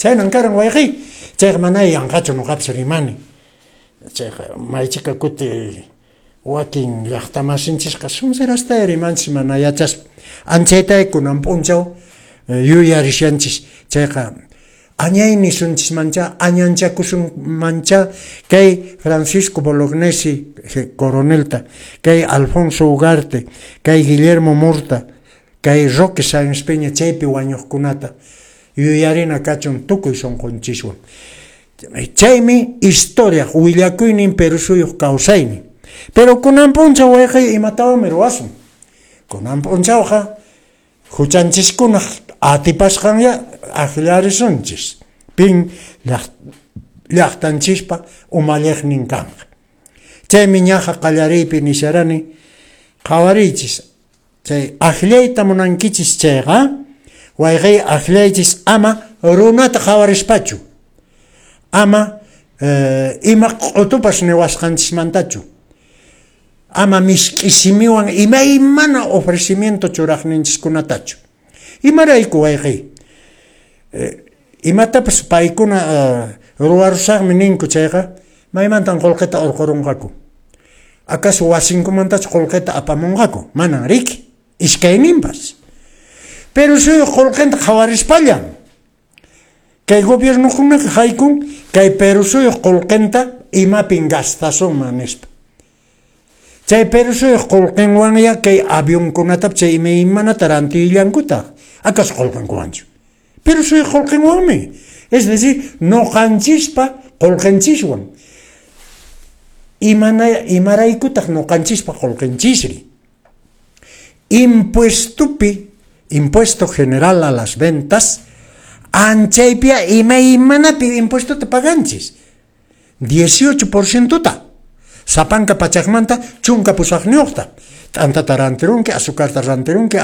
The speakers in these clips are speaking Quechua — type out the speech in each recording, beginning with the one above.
Chaynan karan, wayqiy. Chayqa mana yanqachu noqapas rimani. Chayqa maychika kuti wakin llaqtamasinchisqa sonserasta rimanchis mana yachaspa. Anchayta kunan p'unchaw yuyarishanchis. Chayqa añay nisunchismancha, añanchakusunmancha kay Francisco Bolognesi coronelta, kay Alfonso Ugarte, kay Guillermo Murta, kay Roque Sáenz Peña chaypi wañuqkunata yuyarina kachun tukuy sunqunchiswan. Chaymi historia willakuynin Perú suyuq kawsaynin. Pero kunan p'unchaw, wayqiy, imatawanmi ruwasun? Kunan p'unchawqa huchanchiskunaq atipasqanya akllarisunchis. Pin llaqtanchispa umalliqnin kanqa. Chaymi ñaqa qallariypi nisharani, qhawariychis, chay akllayta munankichis chayqa, wayqiy, akllaychis ama runata qhawarispachu, ama ima q'utupas niwasqanchismantachu, ama misk'i simiwan imaymana ofrecimiento churaqninchiskunatachu. Imarayku, wayqiy? Imatapas paykuna ruwarusaqmi ninku chayqa, maymantan qullqita urqurunqaku? Acaso wasinkumantachu qullqita apamunqaku? Manan riki, iskayninpas. Pero suyuq qullqinta qhawarispallan kay gobiernokunaqa haykun kay Perú suyuq qullqinta imapin gastasunman nispa. Chay Perú suyuq qullqinwanya kay avionkunatapas chay imaymanata rantillankutaq. Acaso qullqinkuwanchu? Perú suyuq qullqinwanmi. Es decir, noqanchispa qullqinchiswan. Imaraykutaq noqanchispa qullqinchisri? Impuestopi, impuesto general a las ventas, anchaypia imaymanapi impuestota paganchis. 18%ta. Sapanka pachakmanta 18ta. T'antata rantirunki, azucarta rantirunki,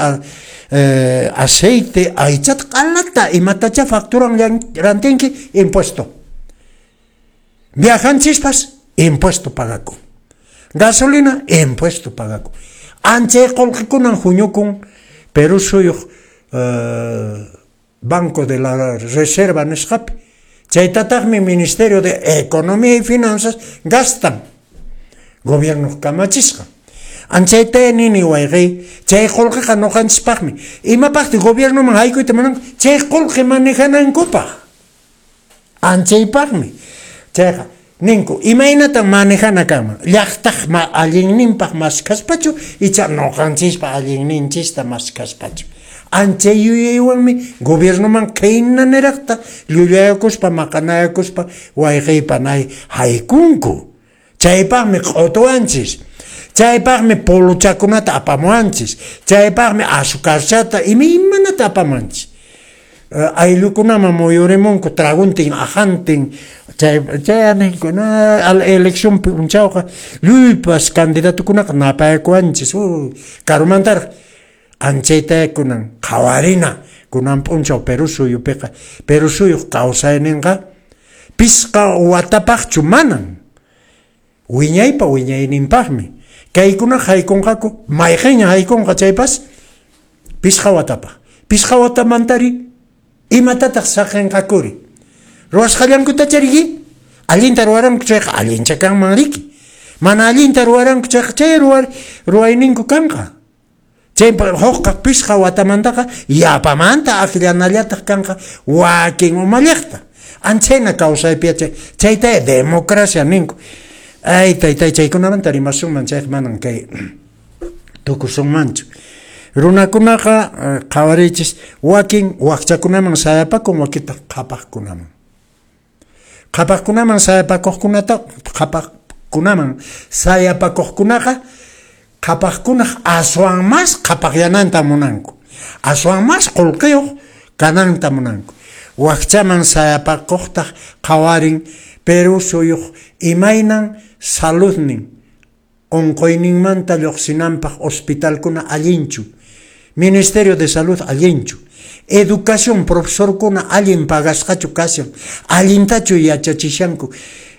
aceite, aychata, q'alata, imatacha facturan rantinki, impuesto. Viajanchispas, impuesto pagakun. Gasolina, impuesto pagakun. Anchay qullqikunan huñukun Perú suyuq Banco de la Reserva nisqapi. Chaytataqmi Ministerio de Economía y Finanzas gastan gobiernoq kamachisqan. Anchayta nini, wayqiy, chay qullqiqa noqanchispaqmi. Imapaqtaq gobiernoman haykuyta munanku? Chay qullqi manejanankupaq. Anchaypaqmi. Chayqa ninku, imaynatan manejana kanman? Llaqtaq allinninpaq maskhaspachu icha noqanchispa allinninchista maskhaspachu? Anchay yuyaywanmi gobiernoman khayna niraqta llullayakuspa maqanayakuspa, wayqiy panay, haykunku. Chaypaqmi q'utuwanchis. Chaypaqmi polochakunata apamuwanchis. Chaypaqmi azucarchata imaymanata apamuwanchis. Ayllukunaman muyurimunku traguntin ajantin chay chay ninku na al elección p'unchawqa lluypas candidatukunaqa napayakuwanchis karumantaraq. Anchayta kunan qhawarina kunan p'unchaw Perú suyupiqa. Perú suyuq kawsayninqa pisqa watapaqchu? Manan, wiñaypa wiñayninpaqmi. Kaykuna haykunqaku, mayqinña haykunqa chaypas, pisqa watapaq. Pisqa watamantari, imatataq saqinqakuri? Ruwasqallankutacha riki? Allinta ruwaranku chayqa allincha kanman riki. Mana allinta ruwaranku chayqa chay ruwayninku kanqa. Chay hukqa pisqa watamantaqa yapamanta akllanallataq kanqa wakin umalliqta. Anchayna kawsaypi chayta democracia ninku. Ay, taytay, chaykunamanta rimasunman chayqa manan kay tukusunmanchu. Runakunaqa qhawariychis, wakin wakchakunaman sayapakun, wakintaq qhapaqkunaman. Qhapaqkunaman sayapakuqkunata, qhapaqkunaman sayapakuqkunaqa qhapaqkunaq aswan mas qhapaqyananta munanku. Aswan mas qullqiyuq kananta munanku. Wakchaman sayapakuqtaq qhawarin Perú suyuq imaynan saludnin, unquyninmanta lluqsinanpaq hospitalkuna allinchu, Ministerio de Salud allinchu, educación profesorkuna allin pagasqachu kashan, allintachu yachachishanku,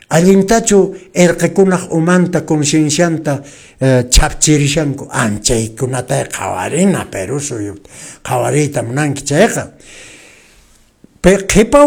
allintachu erqekunaq umanta conciencianta chhapchirishanku. Anchaykunata qhawarina Perú suyuta qhawariyta munanki chayqa. Qhipa